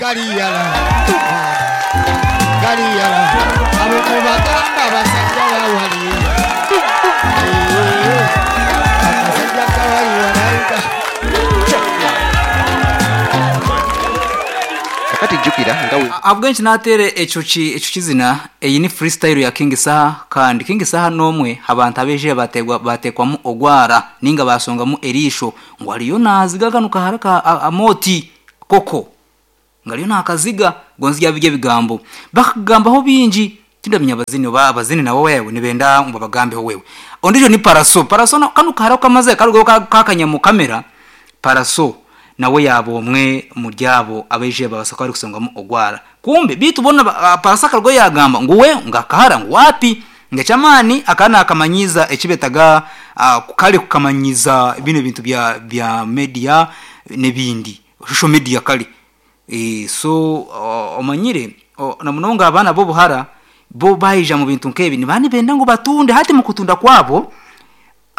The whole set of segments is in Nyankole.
Gali ghala, gali ghala, abo mubagamba abasajja ba wali. Eeh, akasajja ka wali walaika. Kakati jjukira nga we. Ahabw'enki naateera ekyo ki ekyo kizina? Eyi ni freestyle ya King Saha kandi King Saha n'omwe ha bantu abaijire baateebwa baateekwamu ogwara nainga baashongamu eriisho ngu ariyo naaziga kanu kahara ka Amooti koko. Ngu ariyo naakaziga gonzi byaba biri ebigambo. Bakakugambaho bingi tindamanya abazini oba abazini nabo wewe nibenda ngu babagambeho wewe. Ondiijo ni Pallaso, Pallaso na kanu kahara ku kamaze karugaho kakanya mu kamera, Pallaso nawe yaaba omwe omuri abo abaijire babaasa kuba barikusongamu ogwara. Kumbe beitu boona Pallaso akarugaho yaagamba ngu we ngu akahara ngu waapi, ngu eky'amaani akaba naakamanyiiza eki beetaga kare kukamanyiiza binu ebintu bya bya media n'ebindi. Social media kare. So omanyire na munonga abaana b'obuhara bo baija mu bintu nk'ebi nibaba nibenda ngu batunde hati mu kutunda kwabo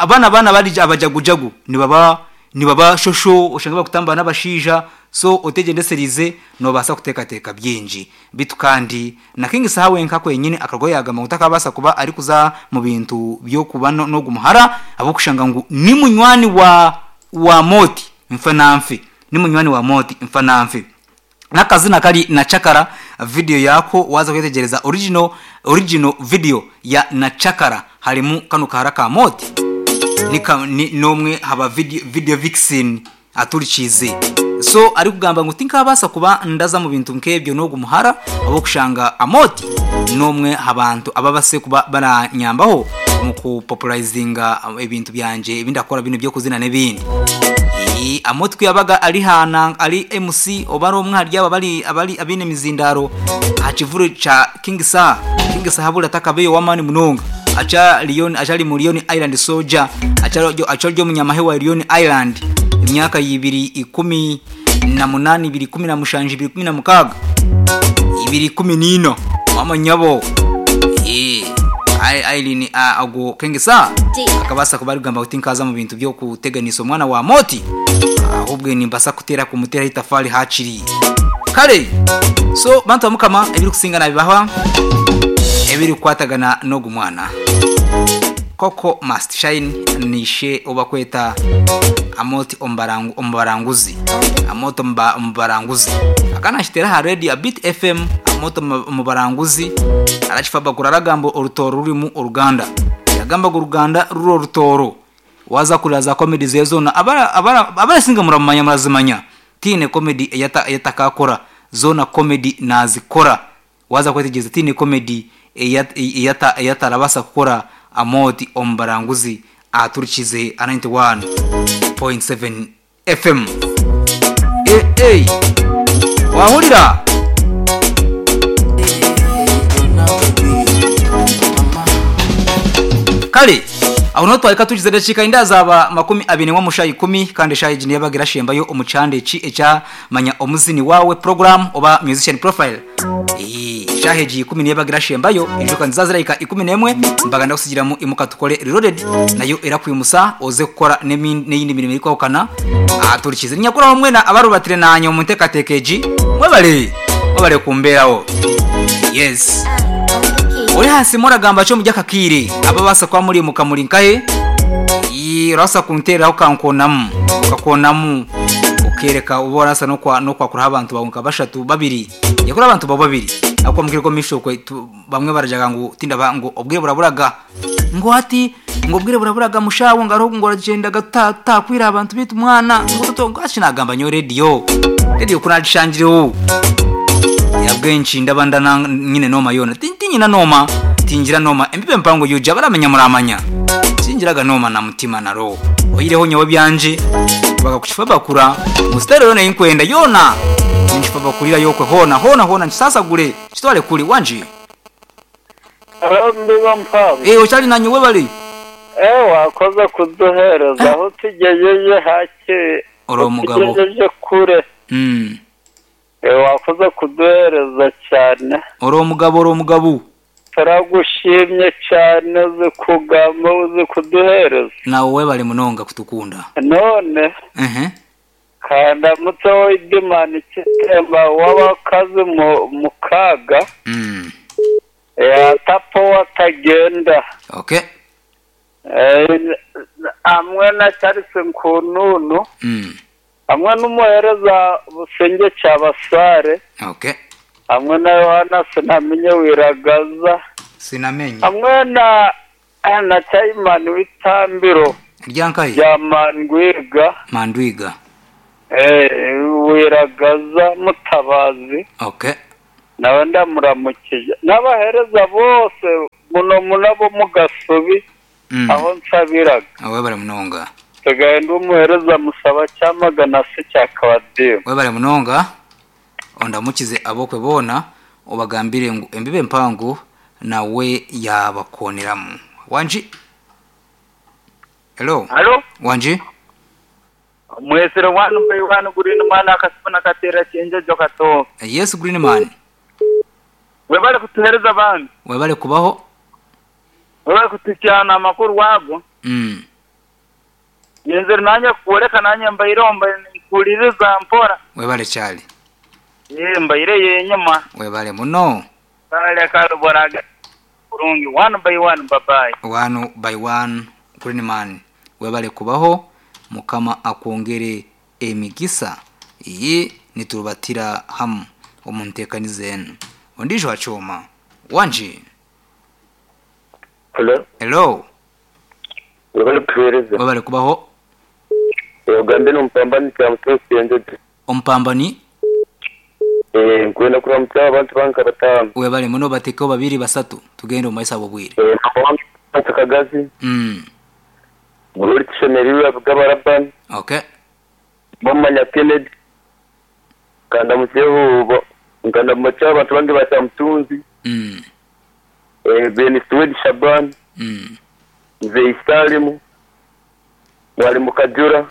banu abaana abari abajagujagu nibaba nibaba shosho oshange barikutambura n'abashaija so otegyendesereize noobaasa kuteekateeka bingi. Beitu kandi na King Saha wenka kwenyini akarugaho yaagamba ngu takabaasa kuba arikuza mu bintu by'okuba n'ogu muhara ahabw'okushanga ngu ni munywani wa wa Moti. Nfe na nfe ni munywani wa Moti nfa na nfe. N'akazina kari Nachakara video yaako waaza kwetegyereza original original video ya Nachakara harimu kanu kahara ka Moti ni ka ni n'omwe aha ba video video vixen aturikiize. So arikugamba ngu tinkaabaasa kuba ndaza mu bintu nk'ebyo n'ogu muhara ahabw'okushanga Amooti n'omwe aha bantu ababaasire kuba baranyambaho omu ku popularizinga ebintu byangye ebi ndakukora binu eby'okuzina n'ebindi. Ii, Amooti ku yabaga ari ha na ari MC oba ari omwe ahari abo abari abari abaine emizindaaro aha kivuro kya King Saha. King Saha buri atakabaire ow'amaani munonga aca Leone akyari mu Leone Island Soldier akyari akyari omunyamahe wa Leone Island emyaka ya ibiri 18, 2017, 2016, 2014 maama nyabo eeh Irene ogwo King Saha akabaasa kuba arikugamba ngu tinkaaza mu bintu by'okuteganisa omwana wa Moti ahobwe nimbaasa kuteera kumuteeraho eitafaari haakiri. Kare so bantu ba Mukama ebirikusinga naabibaha ebirikukwatagana n'ogu mwana. Koko Must Shine ni ishe ou barikweta Amooti Omubaranguzi. Amooti Omubaranguzi. Akaba naakiteera aha reediyo Beat FM, Amooti Omubaranguzi arakifabagura aragamba orutooro rurimu oruganda. Yagamba ngu oruganda ruri orutooro. Waaza kuhurira za comedy ze zoona, abarasinga muramumanya murazimanya. Tihaine comedy ei atakaakora, zoona comedy naazikora. Waaza kwetegyereza tihaine comedy ei ei atarabaasa kukora Amooti Omubaranguzi aturikize aha 91.7 FM. Eh eh Wahurira? Kare aho niho twahika tugize edakiika inda zaaba 21 omu shaaha ikumi kandi eshaaha egi niyo ebaga erashembayo omu kihanda eki ekya Manya Omuzini Waawe Program oba Musician Profile. Eshaaha egi ikumi niyo ebaga erashembayo, ijuka niziza zirahika 11 mbaga ndakusigiramu Imuka Tukore Reloaded nayo erakwimusa oze kukora n'eyindi mirimo erikwahukana. Turikize ninyakuraho mwena abarubatire naanye omu nteekateeka egi mwebare mwebare kumbeeraho. Yes. Ori aha simu oragamba ki omuri aka kaire? Ababaasa kuba muri muka muri nkahe? Orabaasa kunteereraho okankoonamu okakoonamu okeereka obu orabaasa n'okwakuraho abantu baawe nka bashatu babiri. Yakura abantu bawe babiri ahabw'okuba mukire omu maisho okwe bamwe baragira ngu tindaba ngu obwire buraburaga ngu hati ngu obwire buraburaga mushaho ngu hariho ngu oragyendaga tutakwire abantu beitu mwana ngu toto ngu hati nagamba nyowe rediyo rediyo ku nagishangireho ahabw'enki ndaba ndana nyine nooma yoona tinyine nooma tingira nooma embibo empango UG abaramanya muramanya tingiraga nooma na mutima na roho oihireho nyowe ebyangye bakakukifa bakura ngu sitayiro yoona ei nkwenda yoona ninkifa bakurirayo okwe hoona hoona hoona nkisasagure nkitware kuri wangi. Haro Mbibo Mpango. Eeh okyari nanye webare. Eeh wakoze kuduhereza ahu tugyejeje hakiri Ori omugabo. Otugyejeje kure. Eeh wakoze kuduhereza cyane. Ori omugabo ori omugabo. Turagushimye cyane uzi kugamba uzi kuduhereza. Nawe webare munonga kutukunda. None Ehe. Kandamutseho Idiman Kitemba w'abakazi mukaaga. Atapowa atagenda. Okay. Hamwe na Charles Nkununu. Hamwe n'omuheereza Busingye Kyabasaare. Okay. Hamwe na Yohana Sinamenye Wiragaza. Sinamenye. Hamwe na na Chaimani w'itambiro Rya nkahi? rya Mandwiga. Mandwiga. Wiragaza Mutabazi. Okay. Nawe ndamuramukije. N'abaheereza bose muno muno ab'omu Gasubi aho nsabiraga. Webare munonga. Nsigaye ndi omuheereza Musaba Kyamagana si kya Kabadimu. Webare munonga. Ondamukize abokwe boona obagambire ngu embibo empango nawe yabakooneramu. Wangi? Hello. Halo. Wangi? Mwesire wanu by wanu Green Man akasifuna kateera kyenjojo kato. Yes Green Man. Webale kutuhereza abandi. Webale kubaho. Webale kutukyana amakuru ago. Nyenzire nanye kworeka nanye mbaireho nkuhuririza mpora. Webale kyali. Mbaire yenyima. Webale muno. Kale kale boraga kurungi one by one bye bye. One by one Green Man. Webale kubaho Mukama akwongere emigisa. Iyi niturubatira hamu omu nteekaniza enu. Ondiijo aha kyoma. Wangi. Hello. Hello. Webale kutuheereza. Webale kubaho. Ogambe n'omupambani Kyamutunzi Ssenjojo. Omupambani? Nkwenda kuramukya abantu bange nka bataano. Webale muno batekeho babiri basatu tugende omu maiso ahabw'obwire. Number one Francis Kagazi. Glory Tushemereirwe Abugaba Laban. Okay. Bamanya Kennedy. Kandamukyeho nkandamukye abantu bange ba Kyamutunzi. Ben Suwedi Shaban. Mzei Salimu. Mwalimu Kajura.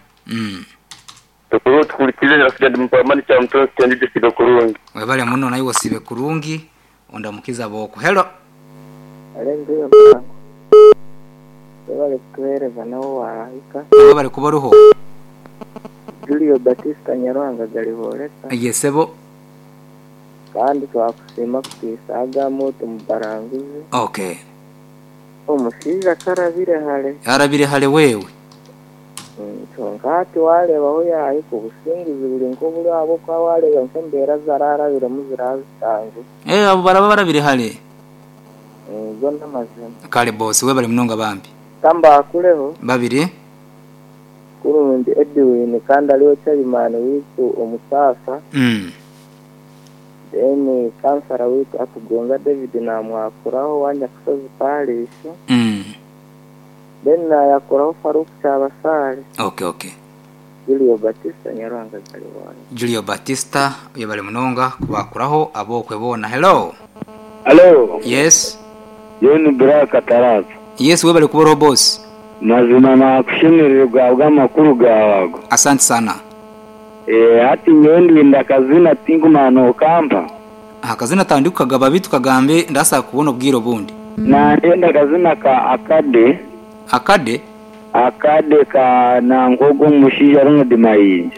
Tukuru tukurikirize nasiga ndi mupambani Kyamutunzi Kyenjojo sibe kurungi. Webale muno naiwe osibe kurungi ondamukize ab'okwo. Hello. Haleluya mpango. Webale kutuhereza nawe wahika. Webale kuba oriho. Julio Batista Nyaruhanga Galiboleka. Ye sebo. Kandi twakusiima kutiisa agamu tumubaranguzi. Okay. Omushaija karabire hare. Arabire hare wewe. Kyonka hati wareeba ahu yaahika obusinguzi buri nk'oburi ahabw'okuba wareeba nk'embeera ezi ararabiremu ziraba zitanguhi. Abo baraba barabire hare. Go n'amazima. Kare boss webare munonga bambi. Ka mbakureho. Babiri. Kurungi Edwin kandi ariwe chairman waitu omusaasa. Then kansara waitu Atugonza David namwakuraho owa Nyakusozi parish. Then nayakuraho Farouk Kyabasaale. Okay okay. Julio Batista Nyaruhanga Galiwaya. Julio Batista oyebare munonga kubakuraho abokwe boona. Hello. Hello. Yes. John Black Kataraza. Yes webare kuba oriho boss. Mazima nakushemererwa ahabw'amakuru gaawe ago. Asante sana. Hati nyowe ndinda akazina tinkumanya nokampa. Akazina tandikukagaba beitu kagambe ndaasa kukubona obwire obundi. Nandenda akazina ka Akade. Akade? Akade ka nangwa ogwo omushaija Ronald Mayinja.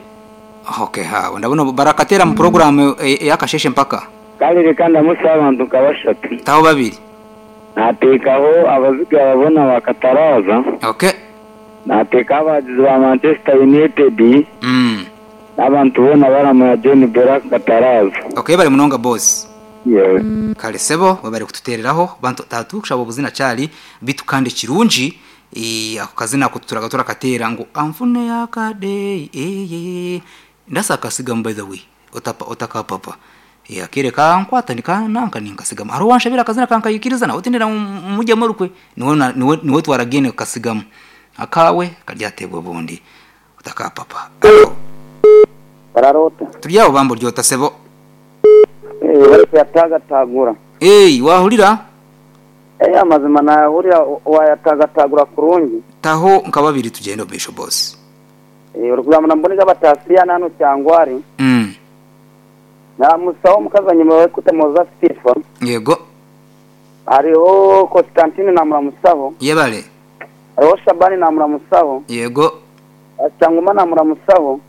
Okay haawe ndabona barakateera mu puroguraamu ey'akasheeshe mpaka. Kare reka ndamutsye abantu nka bashatu. Taho babiri. Naateekaho abaziga boona ba Kataraaza. Okay. Naateekaho abahagizi ba Manchester United. N'abantu boona abaramanya John Black Kataraaza. Okay webare munonga boss. Yewe. Kare sebo webare kututereraho bantu tatukushaba obuzina kyari bitu kandi kirungi ako kazina ako tuturaga turakateera ngu anfune akade eyeye ndasa akasigamu by the way otapa otakapapa akaire kankwata nikananka ninkasigamu hariho owanshabire akazina kankayikiriza nawe tindenda ngu mugyemu orukwe niwe niwe twaragaine kukasigamu akaawe karyateebwa obundi otakapapa. Hello. Orara ota? Turi aho bambi ori ota sebo? Webare kuyatagatagura. Wahurira? Amazima nahurira wayatagatagura kurungi. Taho nka babiri tugyende omu maisho boss. Orikugamba na Mbonega Batasiana hanu Kyangwari. Namusaho omukazi anyuma orikuta Sifa. Yego. Hariho Constantine namuramusaho. Yebare. Hariho Shabani namuramusaho. Yego. Kyanguma namuramusaho.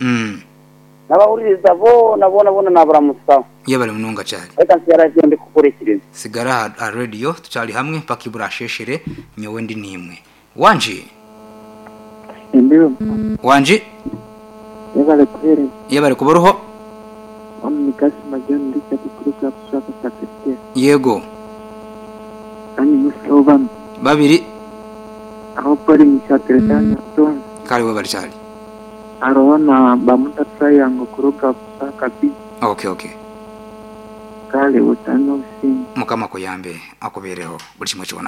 N'abahuririza boona boona boona naabaramusa. Yebare munonga Charlie. Reka nsigare aha radiyo ndikuhurikiriza. Sigara aha radiyo tukyari hamwe mpaka iburasheshere nyowe ndi naimwe. Wangi. Ndiho. Wangi. Yebare kuheereza. Yebare kuba oriho. Onu ni Kasima John Richard kuruga Buswaka Sacristia. Yego. Kandi musaho banu. Babiri. Aho Pauline Shatereta Nyamutonzi. Kare webare Charlie. Haroho na Bamuda Triangle kuruga Buswaka B. Okay okay. Kale otane obusinge. Mukama akuyambe akubereho buri kimwe kyona.